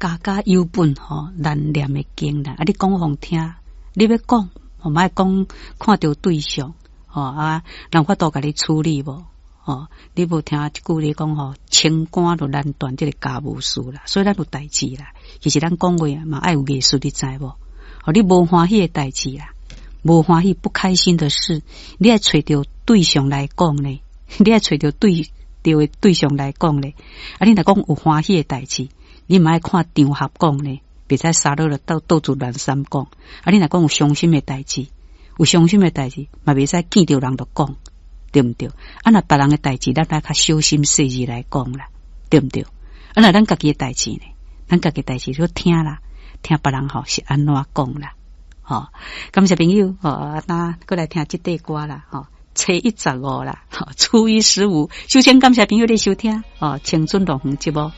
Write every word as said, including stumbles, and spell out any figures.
家家有本吼難念的經啦。啊，你講予聽，你欲講，吼嘛愛講看著對象，吼啊，人有法度共你處理無？吼，你無聽一句咧講吼，清官就難斷這个家務事啦。所以咱有代誌啦。其實咱講話嘛愛有藝術，你知無？吼，你無歡喜的代誌啦，無歡喜不開心的事，你愛揣著對象來講呢？你愛揣著對著的對象來講咧。啊，你若講有歡喜的代誌，你嘛愛看場合講呢，袂使沙落了到到處亂三講。啊，你若講有傷心的代誌，有傷心的代誌，嘛袂使見著人就講，對毋對？啊，若別人的代誌，咱愛較小心細膩來講啦，對毋對？啊，若咱家己的代誌呢？咱家己代誌就聽啦，聽別人吼是按怎講啦，吼。感謝朋友，吼，那閣來聽這塊歌啦，吼，初一十五啦，初一十五，首先感謝朋友的收聽，哦，青春樂園節目。